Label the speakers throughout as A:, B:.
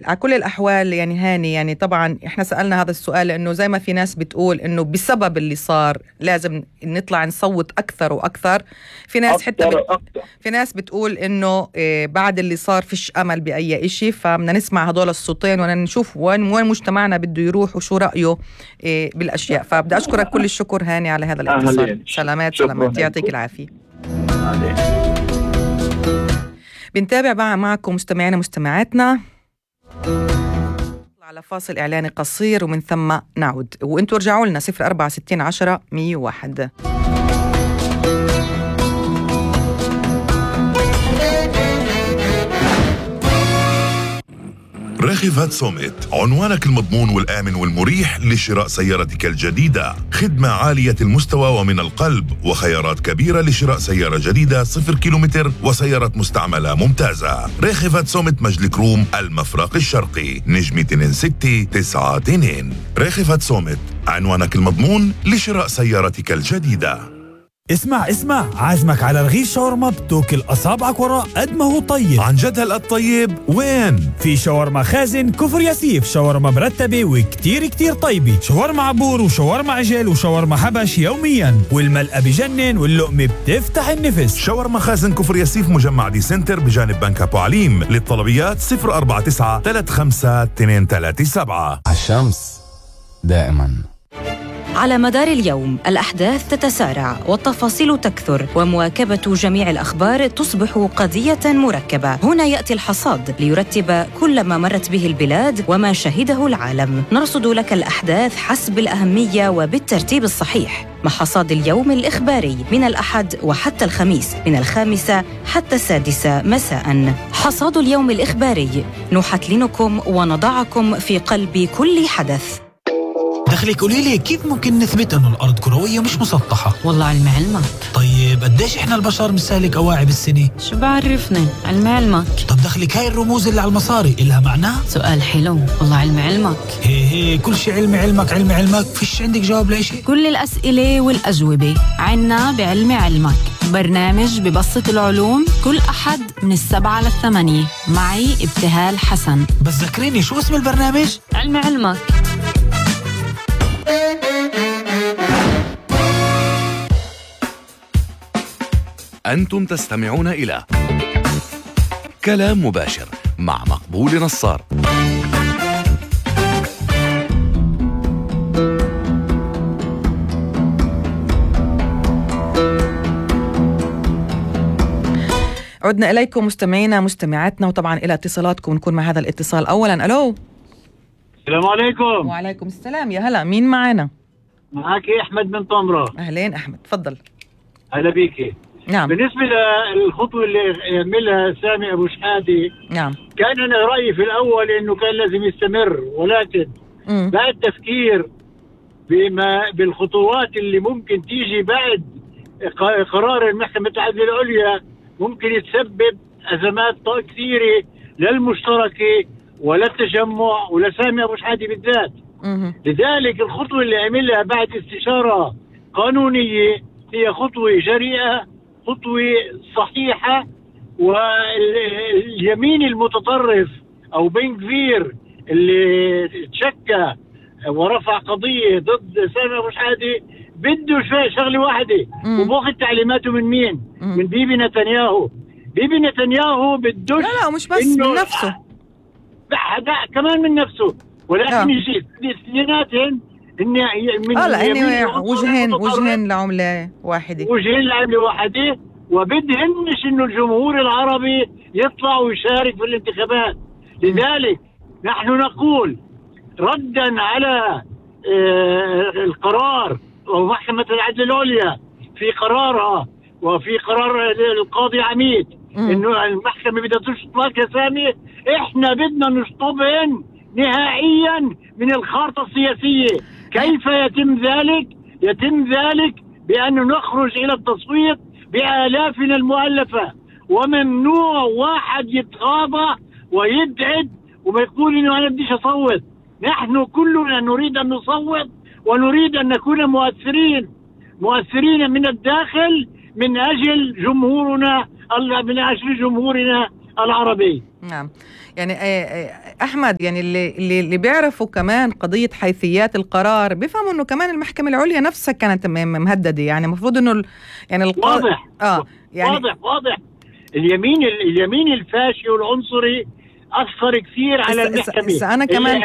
A: على كل الأحوال يعني هاني، يعني طبعا إحنا سألنا هذا السؤال لأنه زي ما في ناس بتقول إنه بسبب اللي صار لازم نطلع نصوت أكثر وأكثر، في ناس حتى في ناس بتقول إنه بعد اللي صار فيش أمل بأي إشي، فبدنا نسمع هدول الصوتين ونشوف وين مجتمعنا بده يروح وشو رأيه بالأشياء. فبدي أشكرك كل الشكر هاني على هذا الاتصال. سلامات يعطيك العافية. بنتابع بقى معكم مستمعينا مستمعاتنا على فاصل إعلاني قصير ومن ثم نعود، وانتوا رجعوا لنا 0460 10 101.
B: راخفات سوميت، عنوانك المضمون والآمن والمريح لشراء سيارتك الجديدة. خدمة عالية المستوى ومن القلب، وخيارات كبيرة لشراء سيارة جديدة 0 كيلومتر وسيارة مستعملة ممتازة. راخفات سوميت مجلك روم المفرق الشرقي، نجمة 2692. راخفات سوميت، عنوانك المضمون لشراء سيارتك الجديدة.
C: اسمع عازمك على رغيف شاورما بتوكل أصابعك وراء قد ما هو طيب.
B: عن جد هالقد طيب؟ وين؟
C: في شاورما خازن كفر ياسيف، شاورما مرتبة وكتير طيبة، شاورما عبور وشاورما عجل وشاورما حبش يوميا، والملقى بجنن واللقمة بتفتح النفس.
B: شاورما خازن كفر ياسيف، مجمع دي سنتر بجانب بنك أبو عليم. للطلبيات 049 35 237.
D: الشمس دائما.
E: على مدار اليوم الأحداث تتسارع والتفاصيل تكثر، ومواكبة جميع الأخبار تصبح قضية مركبة. هنا يأتي الحصاد ليرتب كل ما مرت به البلاد وما شهده العالم. نرصد لك الأحداث حسب الأهمية وبالترتيب الصحيح، مع حصاد اليوم الإخباري من الأحد وحتى الخميس من 5 حتى 6 مساء. حصاد اليوم الإخباري نحتلنكم ونضعكم في قلب كل حدث.
F: دخلك قوليلي كيف ممكن نثبت انه الارض كروية مش مسطحة؟
G: والله علم علمك.
F: طيب قديش احنا البشر بنسالك اواعي بالسنة؟
G: شو بعرفني، علم علمك.
F: طب دخلك هاي الرموز اللي على المصاري إلها معنى؟
G: سؤال حلو، والله علم علمك.
F: هي كل شيء علم علمك، فيش عندك جواب لأشي؟
G: كل الأسئلة والأجوبة عنا بعلم علمك، برنامج ببسط العلوم كل أحد من 7 ل8 معي ابتهال حسن.
F: بس ذكريني شو اسم البرنامج؟
G: علم علمك.
H: أنتم تستمعون إلى كلام مباشر مع مقبول نصار.
A: عدنا إليكم مستمعينا مستمعاتنا، وطبعا إلى اتصالاتكم نكون مع هذا الاتصال. أولا ألو.
I: السلام عليكم.
A: وعليكم السلام، يا هلا، مين معنا؟
I: معك أحمد من طمرة.
A: أهلين أحمد، تفضل.
I: هلا بيكي.
A: نعم.
I: بالنسبة للخطوة اللي يعملها سامي أبو شحادة،
A: نعم،
I: كان أنا رأيي في الأول إنه كان لازم يستمر، ولكن بعد تفكير بالخطوات اللي ممكن تيجي بعد قرار المحكمة العدل العليا، ممكن يتسبب أزمات كثيرة للمشتركة وللتجمع ولسامي أبو شحادة بالذات. لذلك الخطوة اللي عملها بعد استشارة قانونية هي خطوة جريئة، خطوة صحيحة. واليمين المتطرف أو بن كفير اللي تشكى ورفع قضية ضد سامي أبو شحادة بده شغلة واحدة، وباخذ تعليماته من مين؟ من بيبي نتنياهو. بيبي نتنياهو بدوش.
A: لا مش بس من نفسه،
I: لا كمان من نفسه، ولكن يجي اثنيناتهم
A: وجهين لعملة واحدة،
I: وبدهنش انه الجمهور العربي يطلع ويشارك في الانتخابات. لذلك نحن نقول ردا على القرار ومحكمة العدل العليا في قرارها وفي قرار القاضي عميد انه المحكمة بدها تشطب كسامي، احنا بدنا نشطبهن نهائيا من الخارطة السياسية. كيف يتم ذلك؟ يتم ذلك بأن نخرج إلى التصويت بآلافنا المؤلفة، وممنوع واحد يتغاضى ويبعد وما يقول إنه أنا بديش أصوت. نحن كلنا نريد أن نصوت ونريد أن نكون مؤثرين من الداخل من أجل جمهورنا العربي.
A: نعم. يعني أحمد، يعني اللي بيعرفوا كمان قضية حيثيات القرار بيفهموا إنه كمان المحكمة العليا نفسها كانت مهددة. يعني المفروض إنه يعني
I: واضح.
A: يعني
I: واضح. اليمين الفاشي والعنصري أثر كثير على المحكمة.
A: أنا كمان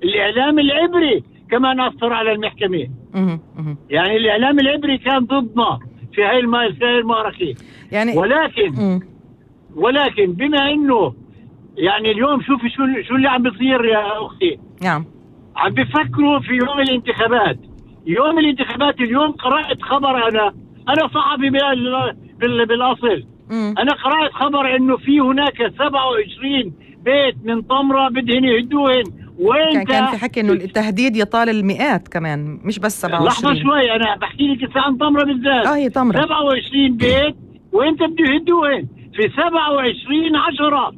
I: الإعلام العبري كمان أثر على المحكمة. يعني الإعلام العبري كان ضدنا في هاي المعركة.
A: يعني
I: ولكن بما إنه يعني اليوم شوفي شو اللي عم بيصير يا أختي.
A: نعم.
I: عم بفكروا في يوم الانتخابات. اليوم قرأت خبر، أنا صحفي بالأصل. أنا قرأت خبر إنه في هناك 27 بيت من طمرة بدهن يهدوهن. وين
A: كان في حكي إنه التهديد يطال المئات كمان، مش بس 27.
I: لحظة شوي، أنا بحكي لك عن طمرة بالذات.
A: هي طمرة
I: 27 بيت وإنت بده يهدوهن في 27/10.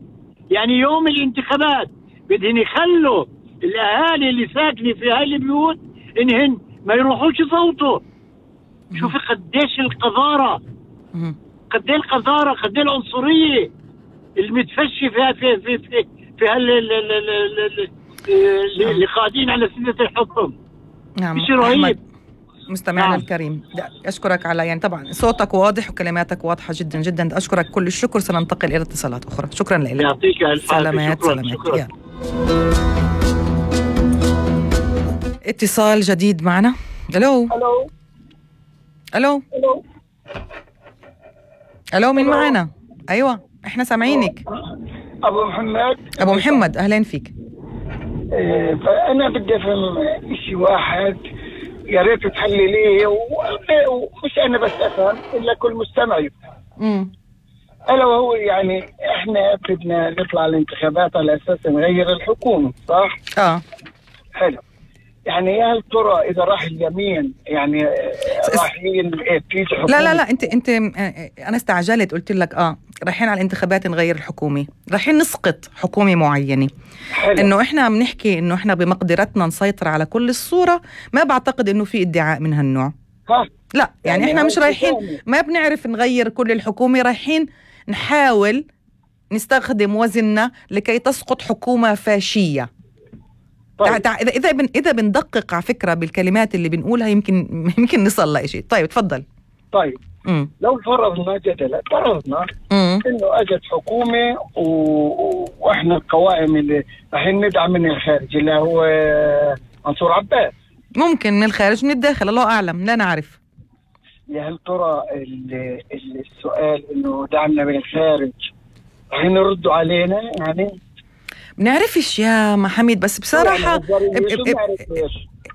I: يعني يوم الانتخابات بدهن يخلوا الأهالي اللي ساكنة في هاي البيوت إنهن ما يروحوش يصوتوا. شوفي قديش القذارة، قد ايه العنصرية المتفشي في اللي قاعدين على سدة الحكم.
A: نعم.
I: مش رهيب.
A: مستمعنا الكريم، أشكرك على يعني طبعا صوتك واضح وكلماتك واضحة جدا جدا. أشكرك كل الشكر. سننتقل إلى اتصالات أخرى. شكرا لك.
I: يعطيك الف عافية.
A: سلامات. اتصال جديد معنا. ألو مين معنا؟ أيوة احنا سامعينك. أبو محمد أهلين فيك.
J: فأنا بدي أفهم شيء واحد، يا ريت تحلليه، ومش أنا بس أفهم إلا كل مستمع يفهم. ألا وهو يعني إحنا بدنا نطلع الانتخابات على أساس نغير الحكومة، صح؟ حلو. يعني هل ترى إذا راح اليمين يعني رايحين تيجي حكومة؟
A: لا أنت أنا استعجلت قلت لك رايحين على الانتخابات نغير الحكومة، رايحين نسقط حكومة معينة. إنه إحنا عم نحكي إنه إحنا بمقدرتنا نسيطر على كل الصورة. ما بعتقد إنه في ادعاء من هالنوع. لا يعني إحنا مش رايحين، ما بنعرف نغير كل الحكومة، رايحين نحاول نستخدم وزننا لكي تسقط حكومة فاشية. طيب. إذا بندقق على فكرة بالكلمات اللي بنقولها يمكن نصل لشيء. طيب تفضل.
J: طيب لو فرضنا جدلا إنه أجت حكومة وإحنا القوائم اللي رايحين ندعم من الخارج اللي هو منصور عباس،
A: ممكن من الخارج من الداخل، الله أعلم، لا نعرف.
J: هل ترى السؤال إنه دعمنا من الخارج رايحين يردوا علينا؟ يعني
A: بنعرفش يا محمد، بس بصراحة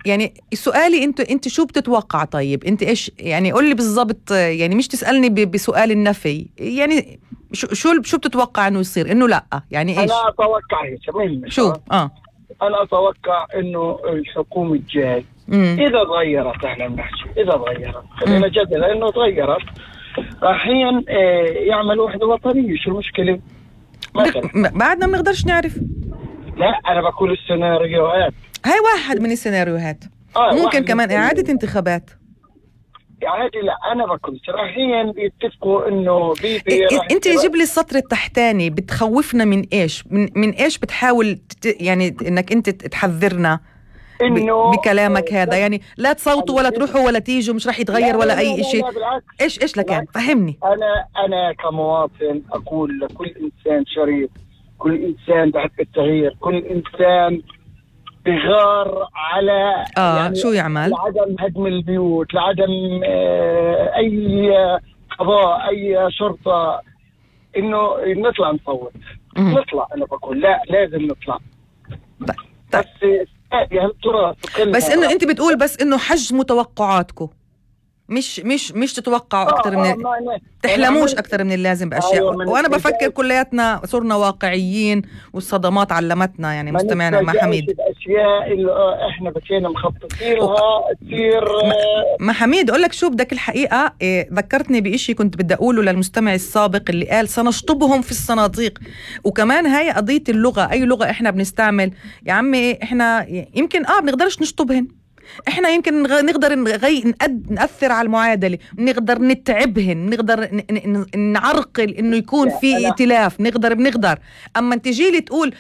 A: يعني سؤالي انت شو بتتوقع؟ طيب انت ايش يعني قول لي بالضبط، يعني مش تسألني بسؤال النفي، يعني شو بتتوقع انه يصير؟ انه لا يعني ايش؟
J: انا اتوقع
A: شو
J: انا اتوقع انه الحكومة الجاي اذا تغيرت، احنا بنحكي اذا تغيرت، خلينا جدلا انه تغيرت، رايحين يعملوا وحدة وطنية. شو المشكلة؟
A: بعدنا ما نقدرش نعرف.
J: لا انا بقول السيناريوهات،
A: هاي واحد من السيناريوهات. ممكن كمان اعادة انتخابات.
J: اعادة، لا انا بقول رايحين بيتفقوا انه
A: انت جيب لي السطر التحتاني. بتخوفنا من ايش؟ من ايش بتحاول يعني انك انت تحذرنا بكلامك هذا؟ يعني لا تصوتوا ولا تروحوا ولا تيجوا، مش راح يتغير ولا اي شيء. ايش لكان؟ فهمني.
J: انا كمواطن اقول لكل انسان شريف، كل انسان بحب التغيير، كل انسان بغار على
A: يعني شو يعمل؟
J: لعدم هدم البيوت، لعدم اي قضاء، اي شرطة، انه نطلع نصوت. نطلع، انا بقول لا لازم نطلع. بس
A: انه انت بتقول بس انه حجموا توقعاتكم، مش تتوقعوا اكثر من تحلموش اكثر من اللازم باشياء. وانا بفكر كلياتنا صرنا واقعيين والصدمات علمتنا. يعني مستمعنا مع حميد،
J: الاشياء اللي احنا بكينا مخططين لها تصير.
A: ما حميد اقول لك شو بدك الحقيقه، ذكرتني بإشي كنت بدي اقوله للمستمع السابق اللي قال سنشطبهم في الصناديق. وكمان هاي قضيه اللغه، اي لغه احنا بنستعمل يا عمي، احنا يمكن بنقدرش نشطبهن، احنا يمكن نقدر نأثر على المعادلة، نقدر نتعبهن، نقدر نعرقل انه يكون في ائتلاف، بنقدر. اما تجي لي تقول